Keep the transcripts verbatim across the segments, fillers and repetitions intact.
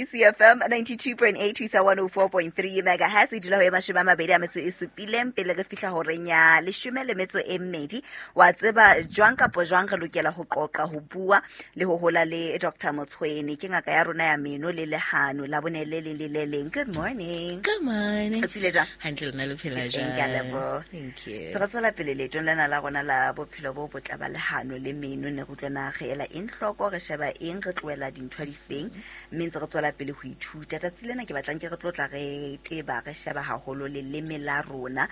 K C F M ninety-two point eight ho isa one oh four point three megahertz. E dula ho e mashome a mabedi a metso e supileng pele re fihla horeng ya leshome le metso e mmedi. Wa tseba jwang kapo jwang re lokela ho qoqa, ho bua le ho hola le Doctor Motshwene, ke ngaka ya rona ya meno le lehano la bone le leng le le leng. Good morning. Good morning. O tsile jwang? Hantle, lona le phela Ke teng, ke a jwang? leboha. Thank you. Se re tswela pele leetong lena la rona la bophelo bo botle ba lehano le meno. Ne re utlwana re ela eng hloko, re sheba eng, re tlohela dintho difeng, mme ntse re tswela pele ho ithuta. Tsatsi lena ke batlang ke re tlotla re teba, re sheba haholo leleme la rona,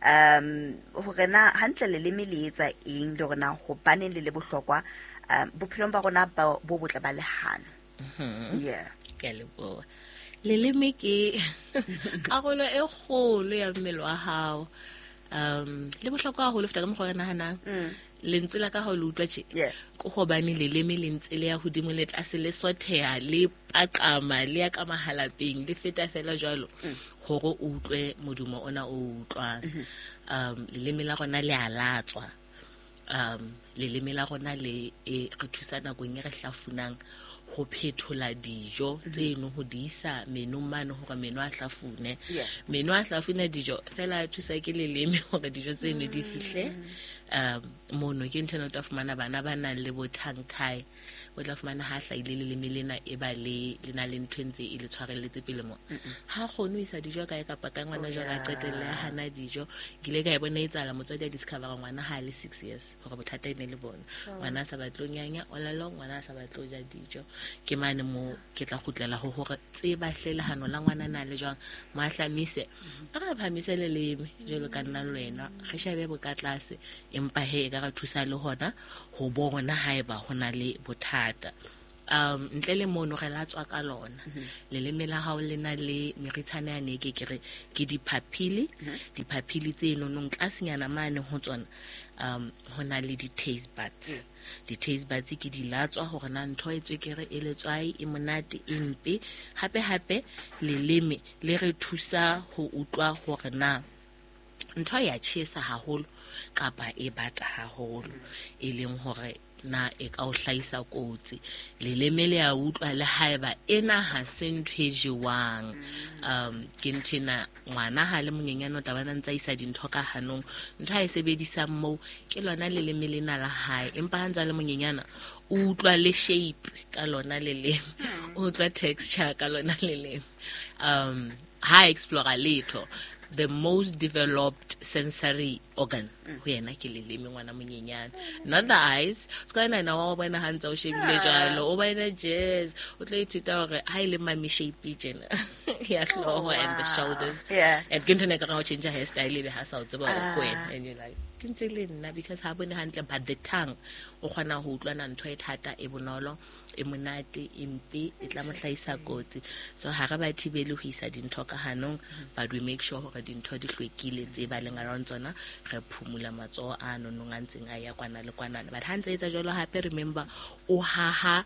um hore na hantle leleme le etsa eng, le hore na hobaneng le le bohlokwa um bophelong ba rona ba- bo botle ba lehano. Yeah. Ke a leboha. Leleme ke karolo e kgolo ya mmele wa hao. Um le bohlokwa haholo feta ka mokgwa o re nahanang. Mm. Lentswe la ka ha o le utlwa tje. Yeah. Ke hobane leleme le ntse le ya hodimo le tlase, le sotheha, le paqama, le ya ka mahalapeng, le feta fela jwalo hore o utlwe modumo ona o utlwang. Um leleme la rona le a latswa. um leleme la rona le e re thusa nakong e re hlafunang ho phethola dijo tseno ho di isa menong mane hore meno a hlafune. Yeah. Meno a hlafuna dijo fela a thuswa ke leleme hore dijo tseno di fihle um mono. Ke ntho ena o tla fumana bana ba nang le bo tongue tie, o tla fumana ha hlahile leleme lena e ba le le na le ntho e ntse e le tshwarelletse pele mo, ha kgone ho isa dijo kae kapa kae. Ngwana Oh, jwale a yeah. qetelle a hana dijo. Ke ile ka e bona e etsahala, motswadi a discovera ngwana ha a le six years hore bothata e ne le bona, ngwana a sa batle ho nyanya all along, ngwana a sa batle ho ja dijo. Ke mane mo ke tla kgutlela ho hore tseba hle lehano la ngwana na le jwang, mo ahlamise, a re phamise leleme jwalo ka nna le wena, re shebe bo ka tlase, empa he e ka re thusa le hona ho bona haeba ho na le bothata. um ntle le mono re latswa ka lona. Leleme la hao le na le meritshana yane e ke ke re ke di-papillae. Di-papillae tse nonong tlasenyana mane ho tsona um ho na le di-taste buds. Di-taste buds ke di latswa hore na ntho e tswekere, e letswai, e monate, e mpe. Hape hape leleme le re thusa ho utlwa hore na ntho ya tjhesa haholo kapa e bata haholo, e leng hore na e ka o hlahisa kotsi. Leleme le a utlwa le haeba ena ha se ntho e jewang. um ke ntho ena ngwana ha le monyenyane o tla bona ntse a isa dintho ka hanong, ntho a e sebedisang moo ke lona leleme lena la hae. Empa ha ntse a le monyenyana o utlwa le shape ka lona leleme, o utlwa texture ka lona leleme. um ha explora letho, the most developed sensory organ ho yena ke leleme, ngwana monyenyane, not the eyes. Se ka nana wa bona ha ntse o shebile jwalo, o bona jazz, o tlo ithuta hore ha e le mummy shape tjena ya hlooho and the shoulders. Yeah. And ke ntho ena e ka reng ha o change hairstyle ebe ha sa o tseba hore ke wena, and you're like, ke ntse le nna, because ha bone hantle. But the tongue o kgona ho utlwana ntho e thata, e bonolo, e monate, e mpe, e tla mo hlahisa kotsi. So ha re ba thibele ho isa dintho ka hanong, but we make sure hore dintho di hlwekile tse ba leng around tsona, re phumula matsoho a nonong a ntseng a ya kwana le kwanana. But ha ntse etsa jwalo, hape remember o haha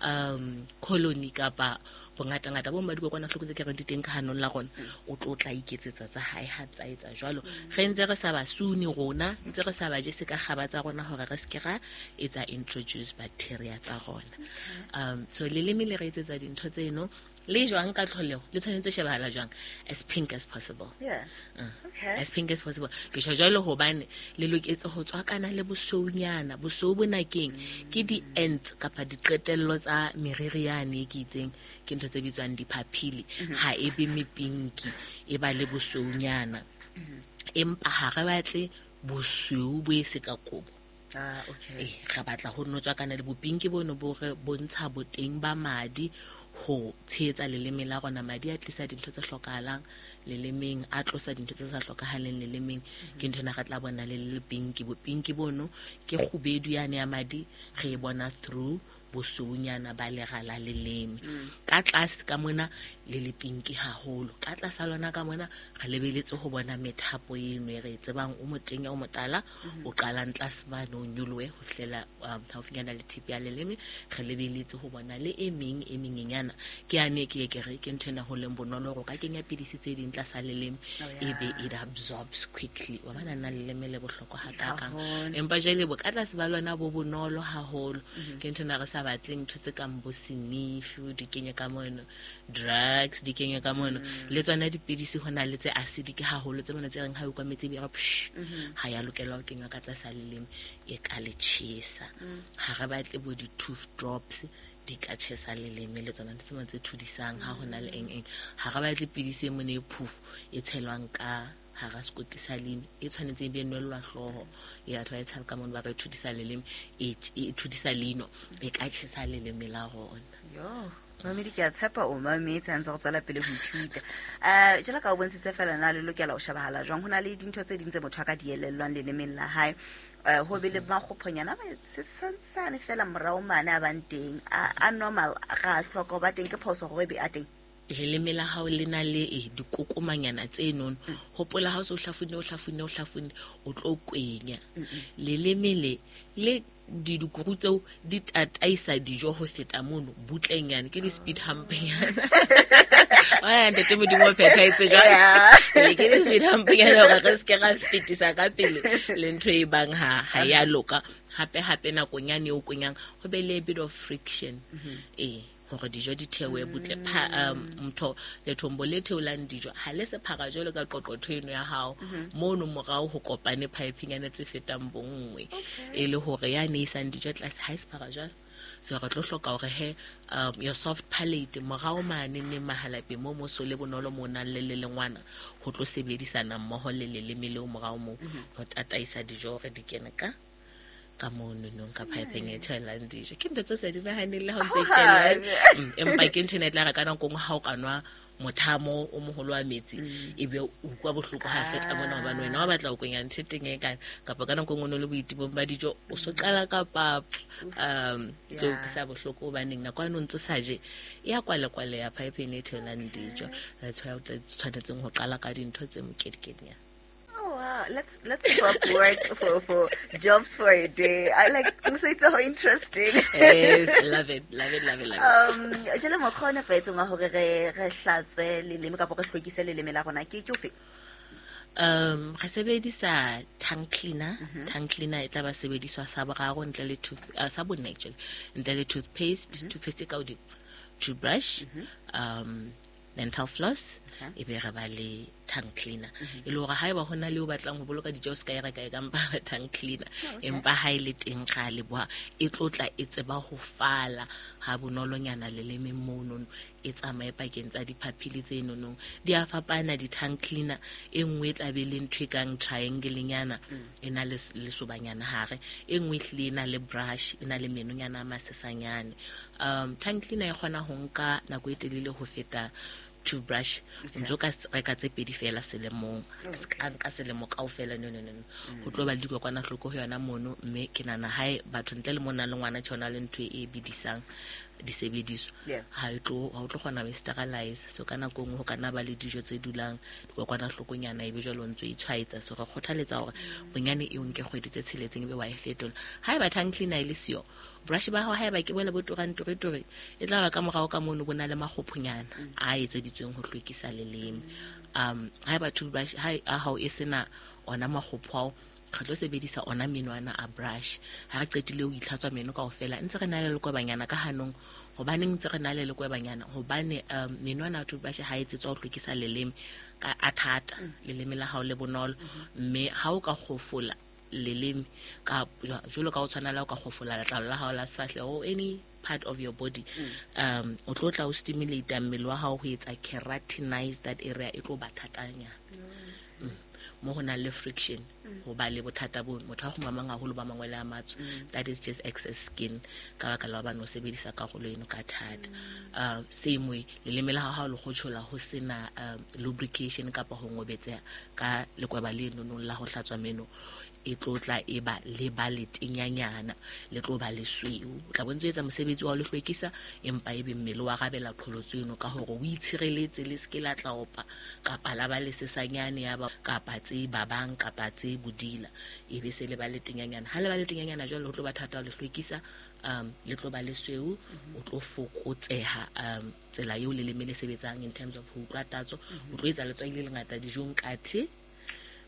um colony kapa bongatangata bo ba dikokwanahloko tse ke reng di teng ka hanong la rona, o tlo tla iketsetsa tsa hae ha tsa etsa jwalo. Re ntse re sa ba sune rona, ntse re sa ba jese ka kgaba tsa rona hore re seke ra etsa introduce bacteria tsa rona. um so leleme le re etsetsa dintho tseno le jwang ka tlholeho le tshwanetse ho shebahala jwang? As pink as possible. Yeah. Mm. Okay. As pink as possible. Ke tjho jwalo hobane le loketse ho tswakana le bosweunyana. Bosweu bona keng? Ke di-ends kapa diqetello tsa meriri yane e ke itseng, ke ntho tse bitswang di-papillae. Ha e be mepinki, e ba le bosweunyana, empa ha re batle bosweu bo e se ka kobo. Ah, okay. Eh, re batla ho no tswakana le bopinki bono bo re bontsha boteng ba madi ho tshehetsa leleme la rona. Madi a tlisa dintho tse hlokahalang lelemeng, a tlosa dintho tse sa hlokahaleng lelemeng. Ke ntho ena re tla bona le le pinki. Bopinki bono ke kgubedu yane ya madi, re e bona through bosweunyana ba lera la leleme. Ka tlase ka mona le le pinki haholo, ka tlasa lona ka mona re lebeletse ho bona methapo eno e re e tsebang, o motenya, o motala, o qalang tlase mane, o nyolohe ho fihlela um haufinyana le tip ya leleme. Re lebeletse ho bona le e meng e menyenyana, ke yane ke ye ke re ke ntho ena ho leng bonolo hore o ka kenya pidisi tse ding tlasa leleme, Oh, yeah. ebe it absorbs quickly. Wa bona nna leleme le bohlokwa hakakang. Haholo. Empa jwale bo ka tlase ba lona bo bonolo haholo, ke ntho ena re sa sa batleng ntho tse kang bo senifi di kenye ka mono, drugs di kenye ka mono, le tsona dipidisi ho na le tse acidic haholo tse mona tse reng ha o kwa metsi e be re psh, ha ya lokela ho kenywa ka tlasa leleme, e ka le tjhesa. Ha re batle bo di-tooth drops di ka tjhesa leleme, le tsona ntho tse mona tse thudisang ha ho na le eng eng. Ha re batle pidisi e mone e phofo e tshelwang ka hara sekoti sa leino, e tshwanetse e be nwellwa hlooho ya batho ba e tshaba ka mono, ba re thudisa leleme, e e thudisa leino, e ka tjhesa leleme la rona. Yo, mamedi ke a tshepa o mametse ha ntse go tswela pele ho ithuta. Eh jwalo ka o bontshitse fela na le lokela ho shebahala jwang, ho na le dintho tse ding tse motho a ka di elellwang lelemeng la hae. Eh ho be le makgophonyana a sesantsane fela morao mane a bang teng, a a normal, ga a hloka ho ba teng, ke phoso hore e be a teng. Leleme la hao le na le e dikokomanyana tse nono. Hopola ha o se o hlafunne, o hlafunne, o hlafunne, o tlo kwenya. Leleme le le dikuru tseo di tataisa dijo ho feta mono butlenyana, ke di-speed humpnyana. Wa ntate Modimo o phethahetse jwang? Yeah. Ke di-speed humpnyana hore re se ke ra fetisa ka pele le ntho e bang ha, ha ya loka. Hape hape nakong yane eo kwenyang ho be le a bit of friction. Eh, hore dijo di theohe butle. Pha, um, mtho lethombo le theolang dijo ha le sephara jwalo ka qoqotho eno ya hao, mono morao ho kopane pipenyana tse fetang bonngwe, e le hore ya ne isang dijo tlase ha e sephara jwalo. So re tlo hloka hore he, um, your soft palate morao mane ne mahalapeng mo moso le bonolo mo nang le le lengwana ho tlo sebedisana mmoho le leleme leo morao moo ho tataisa dijo hore di kene ka ka mono nong ka pipeng e theolang dijo. Ke ntho tse sa di nahaneng le ha o ntse o itjella. Mm, empa ke ntho ena e tla re ka nako e nngwe ha o ka nwa mothamo o moholo wa metsi, ebe o utlwa bohloko ha feta mona, hobane wena wa batla ho kwenya ntho e teng e kana, kapa ka nako e nngwe o no le boitibong ba dijo, o so qala ka pap, um, tse Yeah. utlwisa bohloko hobaneng nako eno o ntso sa je, e ya kwale-kwale ya pipeng e theolang dijo. That's why o tla tshwanetseng ho qala ka dintho tse mokedikenyana. Oh wow, let's, let's swap work for, for jobs for a day. I like, so it's so interesting. Yes, I love it, love it, love it, love it. Um, jwale mokgwa o nepahetseng wa hore re, re hlatswe leleme kapa re hlwekise leleme la rona ke, ke ofe? Um, re sebedisa tongue cleaner. Tongue cleaner e tla ba sebediswa sa boraro ntle le tooth, uh, sa bonne actually, ntle le toothpaste, toothpaste e ka hodimo, toothbrush, um, dental floss, Okay. e be re ba le tongue cleaner. E le hore haeba ho na le o batlang ho boloka dijo, o se ka e reka e ka mpa ba tongue cleaner. Okay. Empa ha e le teng ra leboha, e tlo tla e tseba ho fala ha bonolonyana lelemeng monono, e tsamaye pakeng tsa diphaphili tse nonong. Di a fapana di-tongue cleaner, e nngwe e tla be le ntho e kang triangle-nyana, e na le s-, lesobanyana hare, e nngwe ehlile e na le brush, e na le menonyana a masesanyane. Um, tongue cleaner e kgona ho nka nako e telele ho feta toothbrush. O ntso ka s-, reka tse pedi fela selemong. Okay. Se ka nka selemo kaofela, no, no, no, no. Ho tlo ba le dikokwanahloko ho yona mono, mme ke nahana hae batho ntle le mona le ngwana tjhe, ho na le ntho e bidisang disebediswa. Yeah. Ha e tlo, ha o tlo kgona ho e sterilize. So ka nako e nngwe ho ka nna ba le dijo tse dulang dikokwanahlokonyana, ebe jwale o ntso e tshwaetsa. So re kgothaletsa hore bonyane e o nke kgwedi tse tsheletseng ebe wa e fetola. Haeba tongue cleaner e le siyo, brush ba hao haeba ke bone bo turang ture-ture, e tla ba ka morao ka mono bo na le makgophonyana a etseditsweng ho hlwekisa leleme. Um, haeba toothbrush ha a hao e sena ona makgopho ao, re tlo sebedisa ona menwana a brush. Ha re qetile ho itlhatswa meno kaofela, ntse re na le lekwebanyana ka hanong. Hobaneng ntse re na le lekwebanyana? Hobane, um, menwana a toothbrush ha e etsetswa ho hlwekisa leleme ka a thata, leleme la hao le bonolo. Mme ha o ka kgofola leleme ka jwalo ka o tshwana le ha o ka kgofola letlalo la hao la sefahleho or any part of your body, um, o tlo tla o stimulate mmele wa hao ho etsa keratinize that area, e tlo ba thatanyana. Mm. Mo ho nang le friction, ho ba le bothata bo motho a kgumamang haholo ba mangwele a matsho. That is just excess skin ka baka la hobane o sebedisa karolo eno ka thata. Uh, same way, leleme la hao ha o le kgotjhola ho sena, um, lubrication kapa ho ngobetseha ka lekweba le nonong la ho hlatswa meno, e tlo tla e ba le ba letenyanyana, le tlo ba lesweu. O tla bo ntso etsa mosebetsi wa ho le hlwekisa, empa ebe mmele wa rabela qholotso eno ka hore o itshireletse le se ke la tla opa kapa la ba lesesanyane ya ba kapa tse babang kapa tse bodila, ebe se le ba letenyanyana. Ha le ba letenyanyana jwale ho tlo ba thata ho le hlwekisa, um, le tlo ba lesweu, o tlo fokotseha, um, tsela eo leleme le sebetsang in terms of ho utlwa tatso, o tlo etsa letswai le lengata dijong kathe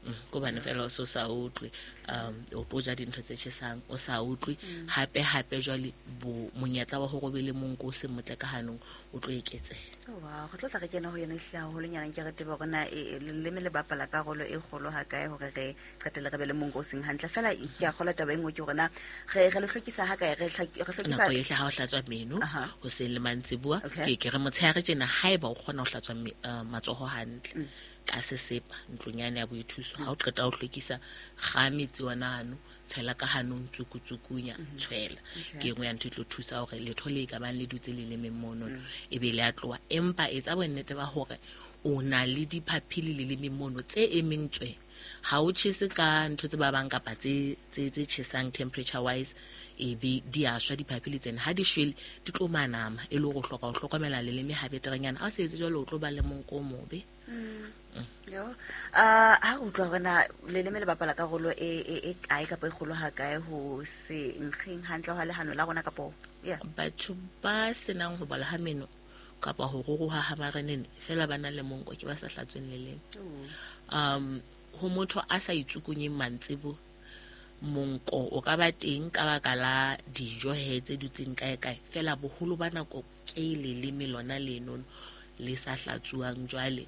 Mm, ke hobane fela o se o sa utlwe, um o tlo ja dintho tse tjhesang o sa utlwe. Hape hape jwale bo monyetla wa hore o be le monko o seng motle ka hanong o tlo eketseha. Oh, wow, re tlo tla re kena ho yona ehlile haholonyana, nke re tsebe hore na e- e- leleme le bapala karolo e kgolo ha kae hore re qetelle re be le monko o seng hantle. Fela ke a kgolwa taba e nngwe ke hore na re re le hlwekisa ha kae, re hlak- re hlwekisa Nako yohle ha o hlatswa meno, Aha. hoseng le mantsibuya. Okay. Ke ke re motshehare tjena, haeba o kgona ho hlatswa me- eh, matsoho hantle ka sesepa ntlong yane ya boithuso, ha o qeta ho hlwekisa, kga metsi ona ano, tshela ka hanong, tsukutsukunya, tshwela. Okay. Ke e nngwe ya ntho e tlo thusa hore letho le ka bang le dutse lelemeng mono e be le a tloha. Empa etsa bonnete ba hore o na le diphaphili lelemeng mono tse emeng tswe, ha o tjhese ka ntho tse babang kapa tse tse tse tjhesang temperature wise, e be di a shwa diphaphili tsena. Ha di shwele, di tlo manama, e le hore o hloka ho hlokomela leleme ha beterenyana. Ha o se etse jwalo, o tlo ba le monko o mobe. Yo, ah, ha re utlwa hore na leleme le bapala karolo e e e kae kapa e kgolo ha kae ho se nkgeng hantle hwa lehano la rona kapo yeah. Batho ba senang ho bola ha meno kapa ho ruruha ha marenene fela ba na le monko ke ba sa hlatsweng leleme. um ho motho a sa itsukunyeng mantsibo, monko o ka ba teng ka baka la dijo he tse dutseng kae kae, fela boholo ba nako ke leleme lona leno le sa hlatsuwang jwale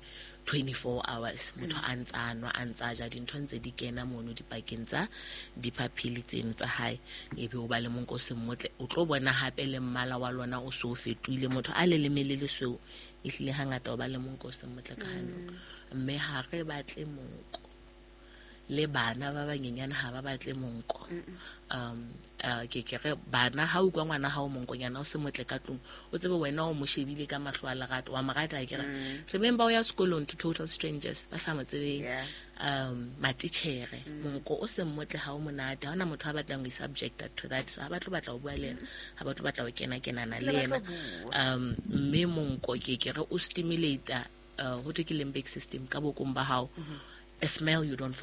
twenty-four hours, motho a ntsa nwa, a ntsa ja, dintho ntse di kena mono dipakeng tsa diphaphili tseno tsa hae, ebe o ba le monko o seng motle. O tlo bona hape le mmala wa lona o so o fetohile. Motho a leleme le lesweu ehlile hangata o ba le monko o seng motle ka hanong, mme ha re batle monko. Le bana ba banyenyane ha ba batle monko. um uh, ke ke re bana, ha utlwa ngwana hao monkonyana o se motle ka tlung, o tsebe wena o mo shebile ka mahlo a lerato, wa mo rata akere. Remember, o ya sekolong to total strangers ba sa mo tsebeng, Yeah. um matitjhere, monko o seng motle ha o monate. Ha hona motho a batlang ho subjected to that, so ha ba tlo batla ho bua le yena, ha ba tlo batla ho kena kenana le Le ba yena. tlo bua. um mme monko ke ke re o stimulate uh, ho thwe ke limbic system ka bokong ba hao. A smell you don't forget.